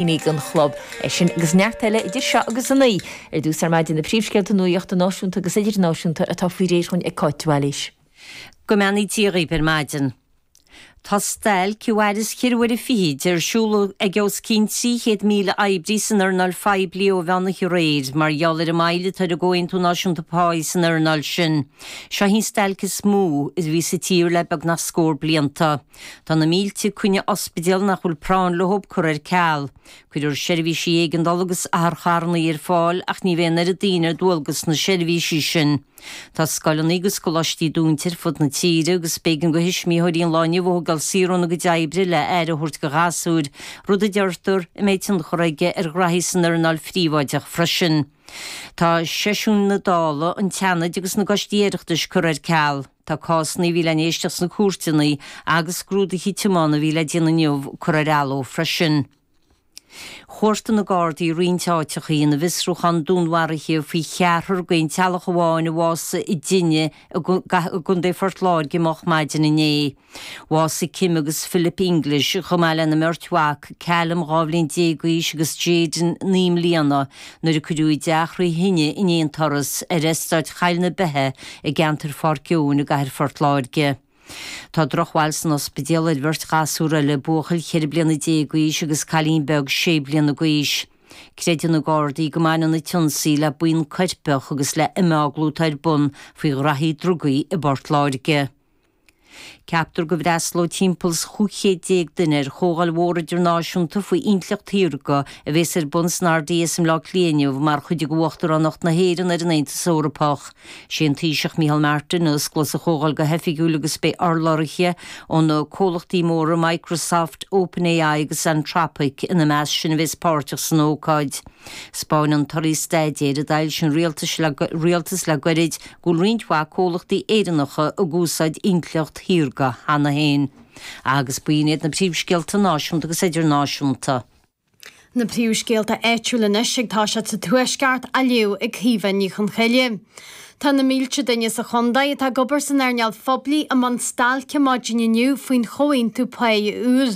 Don chlub. É sin agus neart eile idir seo agus a 9. Ar dtús ar maidin na príomhscéalta nuachta náisiúnta agus idirnáisiúnta atá faoi réir dhúinn ag Cáit de Bhailís. Go mbeannaí Dia dhaoibh ar maidin. Tá stailc a mhairfeas cheithre huaire fichid ar siúl ag os cionn 300,000 oibrí san earnáil phoiblí ó mheán oíche aréir mar gheall ar an moill atá ar an gComhaontú Náisiúnta Páí san earnáil sin. Seo í an stailc is mó a bhí sa tír le beagnach scór blianta. Tá na mílte coinne ospidéal nach bhfuil práinn leo curtha ar ceal. Cuirfear seirbhísí éigeandála agus otharcharranna ar fáil ach ní bheidh an oiread daoine ar dualgas sna seirbhísí sin. Tá scoileanna agus coláistí dúnta ar fud na tíre agus b'éigean do thuismitheoirí an lá inniu a thógáil saor óna gcuid oibre le aire a thabhairt do ghasúir, rud a deirtear a mbeidh tionchar aige ar ghraithí san earnáil phríobháideach freisin. Tá seisiúin na Dála, an tSeanaid agus na gcoistí Oireachtais curtha ar ceal. Tá cásanna a bhí le n-éisteacht sna cúirteanna agus scrúduithe tiomána a bhí le déanamh inniu curtha ar athló freisin. Chuartaigh na Gardaí roinnt áiteachaí ina bhfiosrúchán dúnmharaithe faoi cheathrar d'aon teaghlach amháin a bhásaigh i dtine i gContae Phort Láirge moch maidin inné. Bhásaigh Kim agus Philip English, chomh maith lena mbeirt mhac, Callum, 12 bhliain d'aois agus Jayden, 9 mbliana, nuair a cuireadh i dteach thrí thine in aon turas ar eastáit Choill na Beithe i gceantar Pháirc Eoin i gcathair Phort Láirge. Tá drochbhail san ospidéal ar bheirt ghasúr eile, buachaill 14 bliana d'aois agus cailín beag 6 bliana d'aois. Creideann na Gardaí go mbaineann an t-ionsaí le buíon coirpeach agus le imeaglú atá ar bun faoi ghraithí drugaí i bPort Láirge. Ceaptar go bhfreastalóidh timpeall is 1500 duine ar chomhdháil mhór idirnáisiúnta faoi intleacht shaorga a bhéas ar bun san RDS i mBleá Cliath inniu mar chuid de Uachtaránacht na hÉireann ar an Aontas Eorpach. Sé an Taoiseach Micheál Martin a osclós an chomhdháil go hoifigiúil agus beidh urlabhraithe ó na comhlachtaí móra Microsoft, OpenAI agus Anthropic ina measc sin a bhéas páirteach san ócáid. 'Spáineann torthaí staidéir a d'fhoilsigh an rialtas le goirid go bhfuil roinnt mhaith comhlachtaí Éireannacha ag úsáid intleacht shaorga cheana féin. Agus b'in iad na príomhscéalta náisiúnta agus idirnáisiúnta. Na príomhscéalta áitiúla anois ag toiseacht sa Tuaisceart á léamh ag Caoimhe Ní Chonchoille. Tá na mílte duine sa chontae atá ag obair san earnáil phoiblí i mbun stailce maidin inniu faoin chomhaontú páí úr.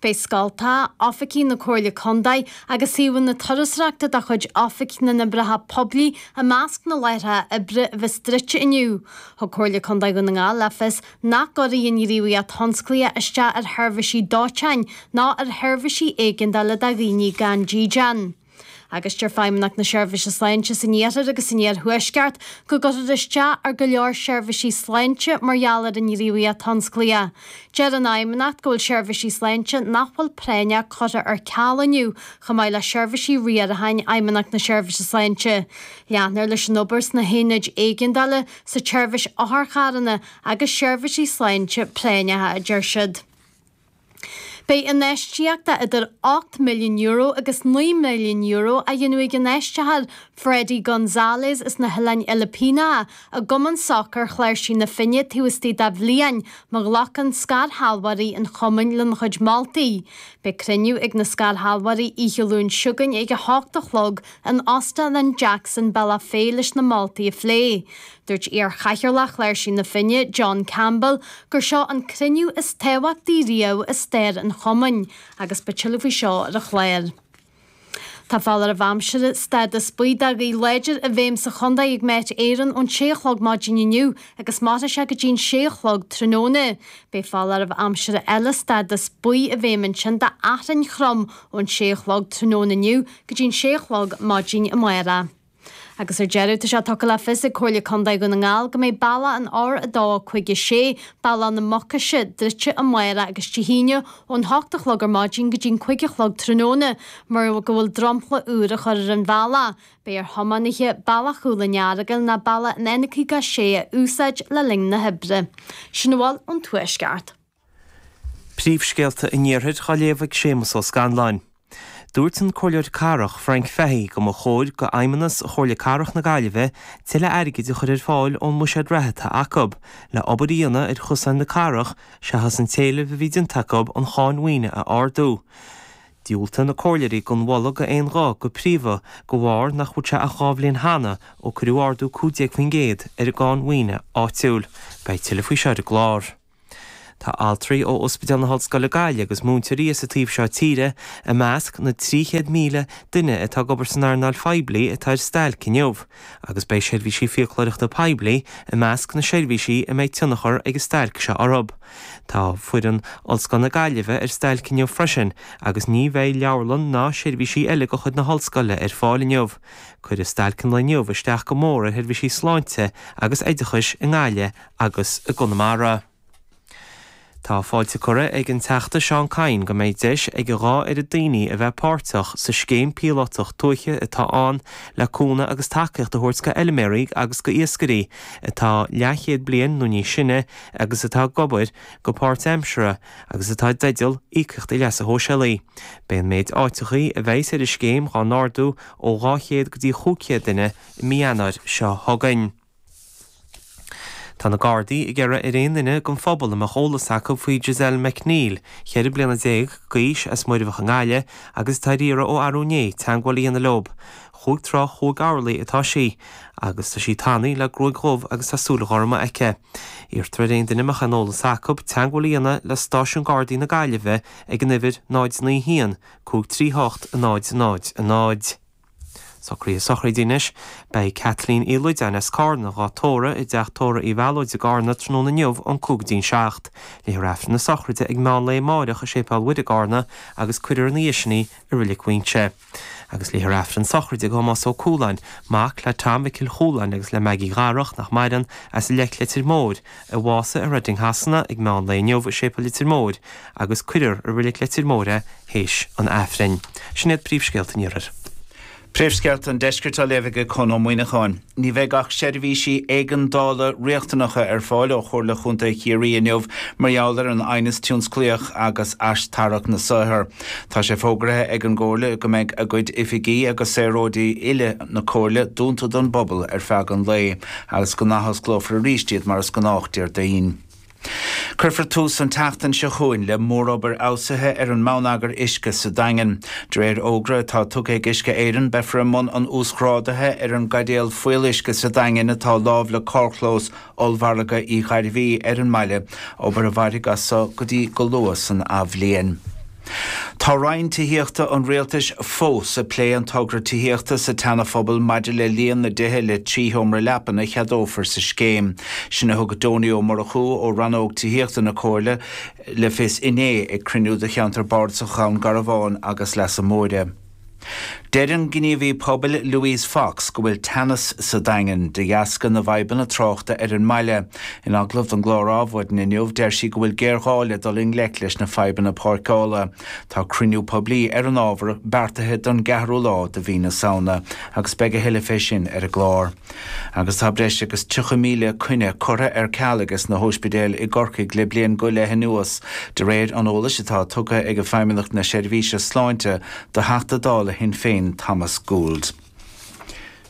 Beidh scoltacha, oifigí na Comhairle Contae agus suíomhanna turasóireachta de chuid Oifig na nOibreacha Poiblí I measc na láithreacha oibre a bheas druidte inniu, thug Comhairle Contae Dhún na nGall le fios nach gcuirfidh an ghníomhaíocht thionsclaíoch isteach ar sheirbhísí dóiteáin ná ar sheirbhísí éigeandála do dhaoine gan dídean. Agus deir Feidhmeannacht na Seirbhíse Sláinte san Iarthar agus san Iarthuaisceart go gcuirfear isteach ar go leor seirbhísí sláinte mar gheall ar an ngníomhaíocht thionsclaíoch. Deir an Fheidhmeannacht go bhfuil seirbhísí sláinte nach bhfuil práinneach curtha ar ceal inniu chomh maith le seirbhísí riaracháin Fheidhmeannacht na Seirbhíse Sláinte. Leanfar leis an obair sna haonaid éigeandála, sa tseirbhís otharcharranna agus seirbhísí sláinte práinneacha, a deir siad. Beidh infheistíocht de idir €8 milliún agus €9 milliún á dhéanamh ag infheistitheoir Freddie Gonzalez as na hOileáin Fhilipíneacha i gCumann Sacair Chláirsigh na Finne taobh istigh de bhliain má ghlacann scairshealbhóirí an chumainn lena chuid moltaí. Beidh cruinniú ag na scairshealbhóirí oíche Luain seo chugainn ag 8 a chlog in Óstán an Jackson, Bealach Féich leis na moltaí a phlé. Dúirt iar-chathaoirleach Chláirsigh na Finne, John Campbell, gur seo an cruinniú is tábhachtaí riamh i stair an chumainn agus beidh tuilleadh faoi seo ar an chlár. Tá foláireamh aimsire stádas buí do ghaoth láidir i bhfeidhm sa chontae ag Met Éireann ón sé a chlog maidin inniu agus mairfidh sé go dtí'n sé a chlog tráthnóna. Beidh foláireamh aimsire eile stádas buí i bhfeidhm ansin d'fhearthainn throm ón sé a chlog tráthnóna inniu go dtí'n sé a chlog maidin amárach. Agus ar deireadh, tá sé tugtha le fios ag Comhairle Contae Dhún na nGall go mbeidh bealach an R2 56, Bealach na Mucaise, druidte amárach agus Dé hAoine ón hocht a chlog ar maidin go dtí'n cuig a chlog tráthnóna mar go bhfuil dromchla úr á chur ar an bhealach. Beidh ar thiománaithe Bealach Chúil an Earagail ná bealach an N56 a úsáid le linn na hoibre. Sin a bhfuil ón Tuaisceart. Príomhscéalta an Iarthair á léamh ag Séamus Ó Scanláin. Dúirt an Comhairleoir Cathrach, Frank Fahey, go mba chóir go Fheidhmeannas Chomhairle Cathrach na Gaillimhe tuilleadh airgid a chur ar fáil ón mbuiséad reatha atá acu, le obair a dhéanamh ar chosáin na cathrach seachas an t-éileamh a bhí déanta acu an cháin mhaoine a ardú. Dhiúltaigh na comhairleoirí don mholadh d'aon ghuth go príomha de bharr nach bhfuil sé ach 2 bhliain cheana ó cuireadh ardú 15% ar an gcáin mhaoine áitiúil. Beidh tuilleadh faoi seo ar an gclár. Tá altraí ó Ospidéal na hOllscoile Gaillimh agus múinteoirí as an taobh seo tíre i measc na 300,000 duine atá ag obair san earnáil phoiblí atá ar stailc inniu agus beidh seirbhísí fiaclóireachta poiblí i measc na seirbhísí a mbeidh tionchar ag an stailc seo orthu. Tá foireann Ollscoil na Gaillimhe ar stailc inniu freisin agus ní bheidh leabharlann ná seirbhísí eile de chuid na hOllscoile ar fáil inniu. Cuirfidh stailc an lae inniu isteach go mór ar sheirbhísí sláinte agus oideachais i nGaillimh agus i gConamara. Tá fáilte curtha ag an Teachta Seán Kyne go mbeidh deis ag a dhá oiread daoine a bheith páirteach sa scéim píolótach tuaithe atá ann le cúnamh agus tacaíocht a thabhairt go fheilméaraí agus go iascairí atá leathchéad bliain nó níos sine agus atá ag obair go páirtaimseartha agus atá i dteideal íocaíochtaí leasa shóisialaigh. Beidh an méid áiteachaí a bheidhs ar an scéim dhá n-ardú ó 200 go dtí 500 duine i mí Eanáir seo chugainn. Tá na Gardaí ag iarraidh ar aon duine den phobal a mbeadh eolas acu faoi Giselle McNeill, 14 bliana d'aois, as Muirbheach i nGaillimh agus atá ar iarraidh ó arú inné, teagmháil a dhéanamh leo. Chúig troigh chúig orlaí atá sí agus tá sí tanaí le gruaig dhubh agus tá súile gorma aici. Iarrtar ar aon duine a mbeadh aon eolas acu teagmháil a dhéanamh le Stáisiún Gardaí na Gaillimhe ag an uimhir 0 9 1 5 3 8 0 0 0. Socruithe sochraide anois. Beidh Kathleen Uí Loideáin as Cárna dhá tórramh i dteach tórraimh Uí Mhealóid i gCárna tráthnóna inniu ón 5 go dtí'n 7. Léifear Aifreann na sochraide ag meán lae amáireach i Séipéal Mhuire i gCárna agus cuirfear ina dhiaidh sin í i Reilig Mhuinseo. Agus léifear Aifreann sochraide do Thomás Ó Cualáin, mac le Tom Mhicil Chualáin agus le Maggie Dharach, nach maireann, as Leic Leitir Móir, a bhásaigh i Reading Shasana ag meán lae inniu i Séipéal Leitir Móir agus cuirfear i Reilig Leitir Móir é théis an Aifrinn. Sin iad príomhscéalta an Iarthair. Príomhscéalta an Deiscirt á léamh ag Conn Ó Muíneacháin. Ní bheidh ach seirbhísí éigeandála riachtanacha ar fáil ó Chomhairle Chontae Chiarraí inniu mar gheall ar an aighneas tionsclaíoch agus aistarrac na saothar. Tá sé fógraithe ag an gComhairle go mbeidh a gcuid oifigí agus saoráidí uile na Comhairle dúnta don bpobal ar feadh an lae agus go n-athosclófar arís iad mar is gnách Déardaoin. Cuirfear tús an tseachtain seo chugainn le mórobair fheabhsaithe ar an mbonneagar uisce sa Daingean. De réir fhógra atá tugtha ag Uisce Éireann, beifear i mbun an uasghrádaithe ar an gcaidéal fuíolluisce sa Daingean atá lámh le carrchlós ollmhargadh Uí Ghairbhí ar an mbaile, obair a mhairfidh as so go dtí go luath san athbhliain. Tá Roinn Tithíochta an Rialtais fós ag plé an togra tithíochta sa tSeana-Phobal maidir le líon na dtithe le 3 sheomra leapan a cheadófar sa scéim. Sin a thug Donie Ó Murchú ó Rannóg Tithíochta na Comhairle le fios inné ag cruinniú do cheantar Bardasach Dhún Garbhán agus Leasa Móire. Deir an gníomhaí pobail Louise Fox go bhfuil teannas sa Daingean de dheasca na bhfadhbanna tráchta ar an mbaile. In agallamh don gclár Adhmhaidin inniu deir sí go bhfuil géarghá le dul i ngleic leis na fadhbanna páirceála. Tá cruinniú poiblí ar an ábhar beartaithe don gceathrú lá de mhí na Samhna agus beidh a thuilleadh fé sin ar an gclár. Agus tá breis agus 30,000 coinne curtha ar ceal ages na hóispidéil i gCorcaigh le bliain go leith anuas, de réir an eolais atá tugtha ag Feidhmeannacht na Seirbhíse Sláinte do Theachta Dála Shinn Féin Thomas Gould.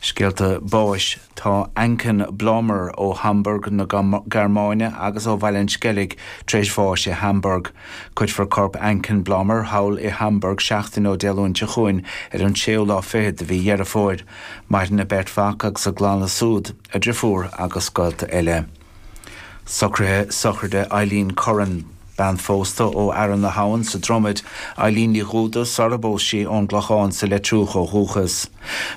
Scéalta báis Tá Anken Blommer ó Hamburg na Gearmáine agus ó Bhaile an Sceilg tar éis bháis i Hamburg. Cuirfear corp Anken Blommer thall i Hamburg seachtain ó Dé Luain seo chugainn ar an séú lá fichead de mhí Dheireadh Fómhair. Maireann a beirt mhac agus a gclanna súd, a driofúr agus gaolta eile. Socruithe sochraide Eileen Curran, bean phósta ó Fhearann na hAbhann sa Dromaid, Eileen Ní Dhúda sara bpós sí ón gClochán sa Leitriúch ó dhúchas.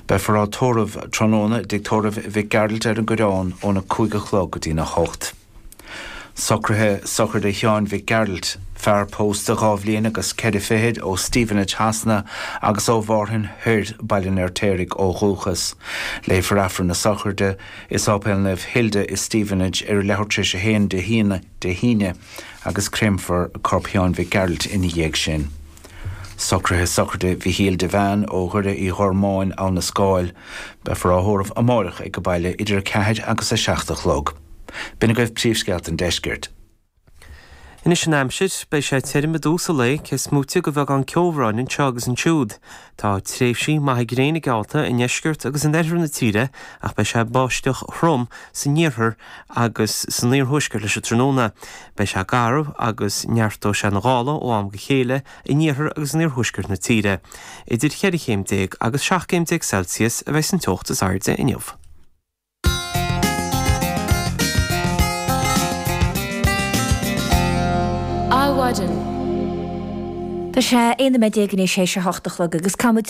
Beifear á tórramh tráthnóna i dTigh Tórraimh Mhic Gearailt ar an gCoireán óna 5 a chlog go dtína 8. Socruithe sochraide Sheáin Mhic Gearailt, fear pósta dhá bhliain agus ceithre fichid ó Stevenage Shasana agus ó Mhárthain Thoir, Baile an Fheirtéaraigh ó dhúchas. Léifear Aifreann na sochraide i Sáipéal Naomh Hilda i Stevenage ar a leathuair tar éis a haon Dé hAoine agus créamfar corp Sheáin Mhic Gearailt ina dhiaidh sin. Socruithe sochraide Mhichíl Devane ó Dhoire Uí Ghormáin, Abha na Scáil. Beifear á thórramh amáireach ag an baile idir 4 agus 7 a chlog. B'in agaibh príomhscéalta an deiscirt. Anois an aimsir, beidh sé tirim i dtús an lae, cé is móite de bheagán ceobhráin anseo agus ansiúd. Tá tréimhsí maithe gréine geallta i ndeisceart agus in oirthear na tíre ach beidh sé ag báisteach throm san iarthar agus san iarthuaisceart leis an tráthnóna. Beidh sé garbh agus neartóidh sé na gála ó am go chéile in iarthar agus in iarthuaisceart na tíre. Idir cheithre chéim déag agus 17 céim Celsius a bheidh san teocht is airde inniu. Maidin. Tá sé 11 nóiméad i ndiaidh a 8 a chlog agus caithfimid.